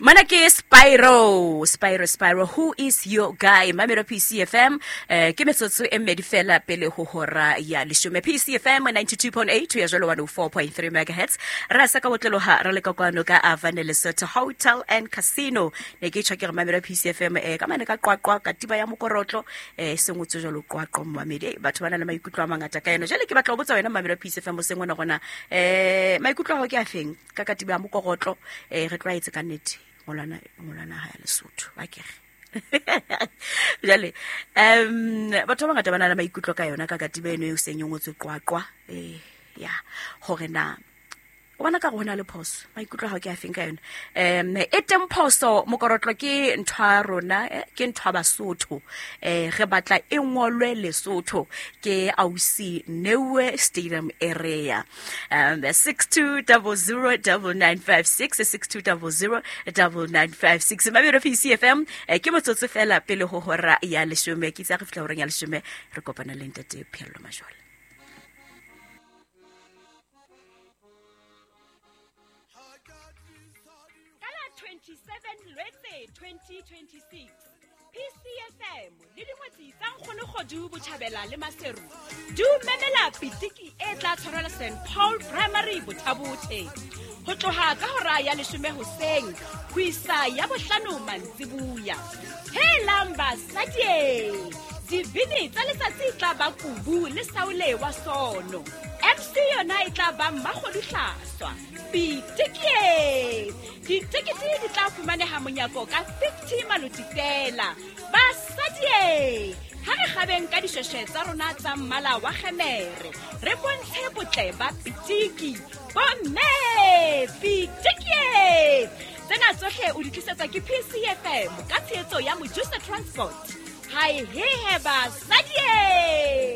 Mana ke Spyro, Spyro, Spyro, who is your guy? Mamelo PCFM, ke metsotso e mmedi fela pele ho hora ya leshome. PCFM 92.8 ya jwalo 104.3 megahertz. Ra sa ka botloloha re le ka kwano ka Avane Lesotho Hotel and Casino. Ne ke tjho ke re mamelo PCFM ka mane ka Qwaqwa katiba ya mokorotlo se ngotswe jwalo Qwaqwa mmamedi. Batho ba na le maikutlo a mangata ka yona. Jwale ke batla ho botsa wena mamelo PCFM o seng ona gona maikutlo a hao ke a feng? Ka katiba ya mokorotlo re tlwaetse ka nnete ngolwana ngolwana ha ya Lesotho ba kere jale batho ba bangata ba na le maikutlo ka yona ka katiba eno e seng e ngotswe Qwaqwa ya hore na o bona ka go na le phoso, maikutlo a gago ke a feng ka yone? E teng phoso, mokorotlo ke ntho ya rona, ke ntho ya Basotho, re batla e ngolwe Lesotho. Ke ausi Newe Stadium area. 62009956, 62009956, Mabelo PCFM. Ke motsotso fela pele ho hora ya leshome. Ke itse re fihla horeng ya leshome re kopana le ntate Pheello Majola. Ka la 27 Lwetse 2026, PCFM le dingwetsi tsa Nkgonokgodu Botjhabela le Maseru di o memela pitiki e tla tshwarelwa St Paul Primary Bothabothe ho tloha ka hora ya leshome hoseng ho isa ya bohlano mantsibuya. Helang basadie, dibini tsa letsatsi e tla ba Kubu le Saule wa Sono. MC yona e tla ba Mmakgodu Hlaswa. Pitikie! Ditekete di tla fumaneha monyako ka 50 maloti fela. Basadie! Ha re kgabeng ka dishweshwe tsa rona tsa mmala wa kgemere, re bontshe botle ba pitiki. Bomme! Pitikie! Tsena tsohle o di tlisetswa ke PCFM ka tshehetso ya Mojusa Transport. Hae hehe basadie!